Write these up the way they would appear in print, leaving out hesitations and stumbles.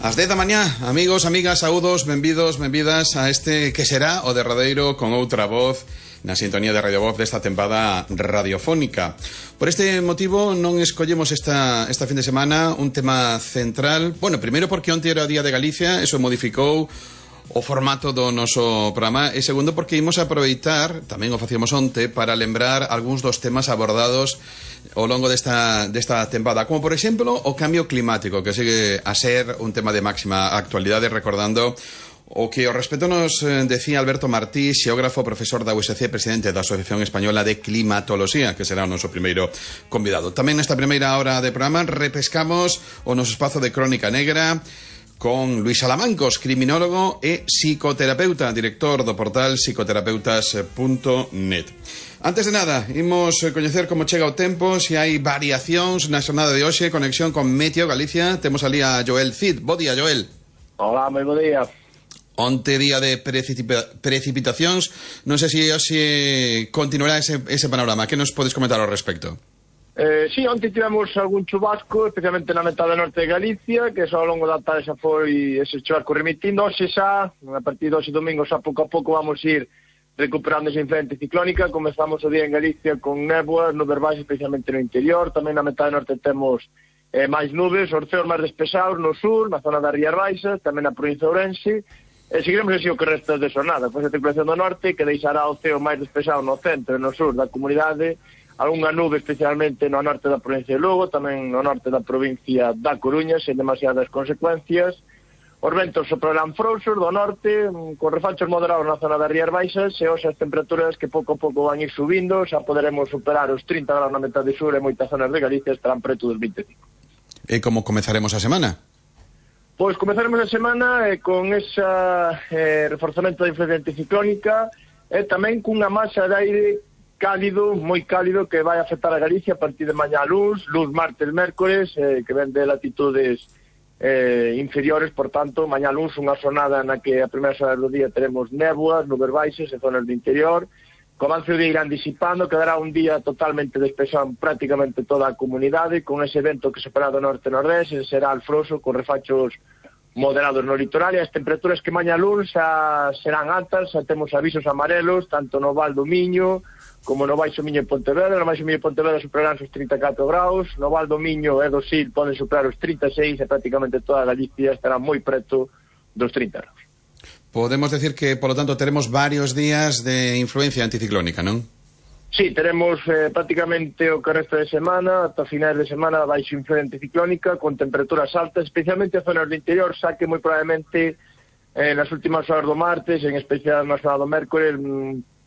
Ás 10 da mañá, amigos, amigas, saúdos, benvidos, benvidas a este que será o derradeiro con outra voz na sintonía de Radio Voz desta tempada radiofónica. Por este motivo non escollemos esta fin de semana un tema central. Bueno, primeiro porque onte era o Día de Galicia, eso modificou o formato do noso programa, e segundo porque imos aproveitar, tamén o facíamos onte, para lembrar algúns dos temas abordados ao longo desta tempada, como por exemplo o cambio climático, que sigue a ser un tema de máxima actualidade, recordando o que ao respecto nos decía Alberto Martí, xeógrafo, profesor da USC, presidente da Asociación Española de Climatoloxía, que será o noso primeiro convidado. Tamén nesta primeira hora de programa repescamos o noso espazo de Crónica Negra con Luís Salamancos, criminólogo e psicoterapeuta, director do portal psicoterapeutas.net. Antes de nada, imos coñecer como chega o tempo, se hai variacións na xornada de hoxe, conexión con Meteo Galicia. Temos ali a Joel Cid. Bo día, Joel. Hola, moi bo día. Onte día de precipitacións, non sei se hoxe continuará ese panorama. Que nos podes comentar ao respecto? Sí, onte tivemos algún chubasco, especialmente na metade norte de Galicia, que só ao longo da tarde xa foi ese chubasco remitindo. Hoxe xa, a partir de hoxe domingo, xa pouco a pouco vamos ir recuperando esa influencia ciclónica. Comezamos o día en Galicia con néboas, nubes baixas, especialmente no interior. Tamén na metade norte temos máis nubes, orceos máis despesados no sur, na zona das Rías Baixas, tamén na provincia de Ourense. Seguiremos así o que resta de xornada, pois a circulación do norte, que deixará o ceo máis despexado no centro e no sur da comunidade, algunha nube especialmente no norte da provincia de Lugo, tamén no norte da provincia da Coruña, sen demasiadas consecuencias. Os ventos soprarán frouxos do norte, con refachos moderados na zona das Rías Baixas, e hoxe as temperaturas que pouco a pouco van ir subindo, xa poderemos superar os 30 graus na metade sur, e moitas zonas de Galicia estarán preto dos 25. E como comezaremos a semana? Pois comezaremos a semana con ese reforzamento da influencia anticiclónica e tamén cunha masa de aire cálido, moi cálido, que vai afectar a Galicia a partir de mañá luz martes, mércores, que ven de latitudes inferiores. Por tanto, mañá luz, unha xornada na que a primeira hora do día teremos néboas, nubes baixas e zonas do interior. Co avance do día irán disipando, quedará un día totalmente despexado en prácticamente toda a comunidade, con ese vento que sopra do norte-nordeste, será alfroso, con refachos moderados no litoral, e as temperaturas que mañá luns serán altas. Xa temos avisos amarelos, tanto no Val do Miño como no Baixo Miño e Pontevedra. No Baixo Miño e Pontevedra superarán os 34 graus, no Val do Miño e do Sil poden superar os 36, e prácticamente toda a Galicia estará moi preto dos 30 graus. Podemos decir que, por lo tanto, teremos varios días de influencia anticiclónica, non? Sí, teremos prácticamente o que resta de semana, ata finais de semana, baixo influencia anticiclónica, con temperaturas altas, especialmente a zonas do interior, xa que moi probablemente nas últimas horas do martes, en especial na zona do mércores,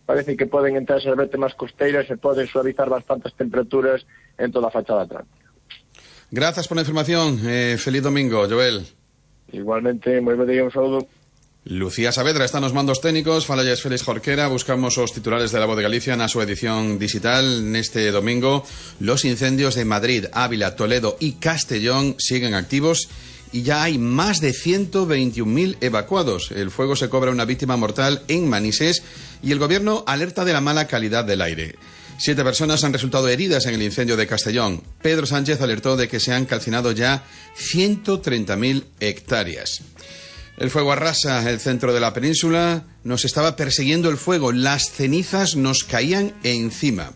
parece que poden entrar as vértebras costeiras e poden suavizar bastantes temperaturas en toda a fachada atlántica. Grazas por a información. Feliz domingo, Joel. Igualmente, moi bo día, un saúdo. Lucía Saavedra está nos mandos técnicos, falalles Félix Jorquera. Buscamos os titulares de La Voz de Galicia na súa edición digital neste domingo. Los incendios de Madrid, Ávila, Toledo y Castellón siguen activos y ya hay más de 121.000 evacuados. El fuego se cobra una víctima mortal en Manises y el gobierno alerta de la mala calidad del aire. 7 personas han resultado heridas en el incendio de Castellón. Pedro Sánchez alertó de que se han calcinado ya 130.000 hectáreas. El fuego arrasa el centro de la península. Nos estaba persiguiendo el fuego. Las cenizas nos caían encima.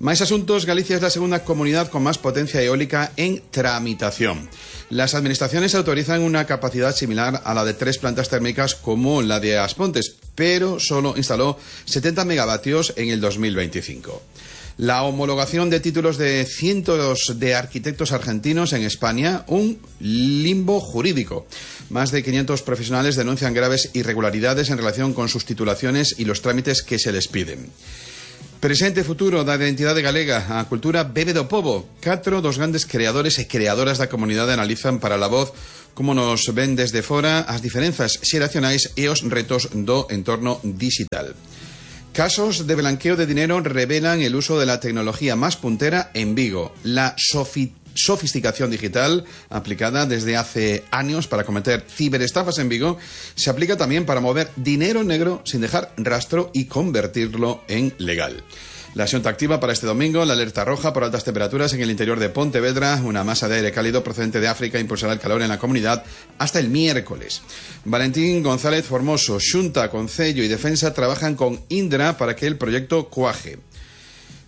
Más asuntos. Galicia es la segunda comunidad con más potencia eólica en tramitación. Las administraciones autorizan una capacidad similar a la de 3 plantas térmicas como la de Aspontes, pero solo instaló 70 megavatios en el 2025. La homologación de títulos de cientos de arquitectos argentinos en España, un limbo jurídico. Más de 500 profesionales denuncian graves irregularidades en relación con sus titulaciones y los trámites que se les piden. Presente e futuro da identidade galega. A cultura bebe do pobo. 4 dos grandes creadores e creadoras da comunidade analizan para La Voz como nos ven desde fora as diferenzas xeracionais e os retos do entorno digital. Casos de blanqueo de dinero revelan el uso de la tecnología más puntera en Vigo. La sofisticación digital, aplicada desde hace años para cometer ciberestafas en Vigo, se aplica también para mover dinero negro sin dejar rastro y convertirlo en legal. La xunta activa para este domingo la alerta roja por altas temperaturas en el interior de Pontevedra. Una masa de aire cálido procedente de África impulsará el calor en la comunidad hasta el miércoles. Valentín González Formoso, Xunta, Concello y Defensa trabajan con Indra para que el proyecto cuaje.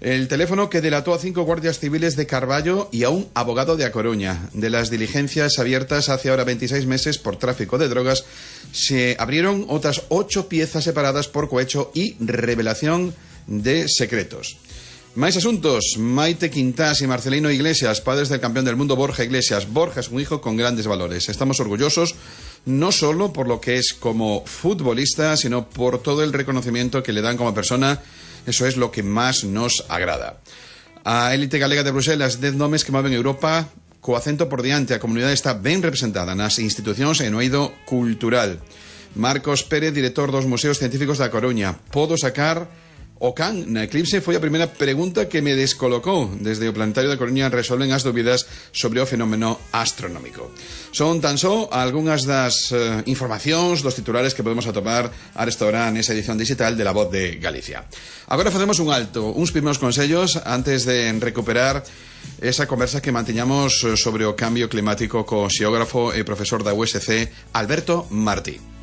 El teléfono que delató a 5 guardias civiles de Carballo y a un abogado de A Coruña. De las diligencias abiertas hace ahora 26 meses por tráfico de drogas, se abrieron otras 8 piezas separadas por cohecho y revelación de secretos. Más asuntos. Maite Quintás y Marcelino Iglesias, padres del campeón del mundo Borja Iglesias. Borja es un hijo con grandes valores. Estamos orgullosos no solo por lo que es como futbolista, sino por todo el reconocimiento que le dan como persona. Eso es lo que más nos agrada. A élite galega de Bruselas, 10 nomes que moven Europa co acento por diante. A comunidade está ben representada nas institucións e no eido cultural. Marcos Pérez, director dos Museos Científicos da Coruña. Podo sacar o can na eclipse? Foi a primeira pregunta que me descolocou. Desde o Planetario da Coruña resolven as dúbidas sobre o fenómeno astronómico. Son tan só algunhas das informacións dos titulares que podemos atopar a restaurar nesa edición digital de La Voz de Galicia. Agora facemos un alto, uns primeiros consellos antes de recuperar esa conversa que mantiñamos sobre o cambio climático co xeógrafo e profesor da USC Alberto Martí.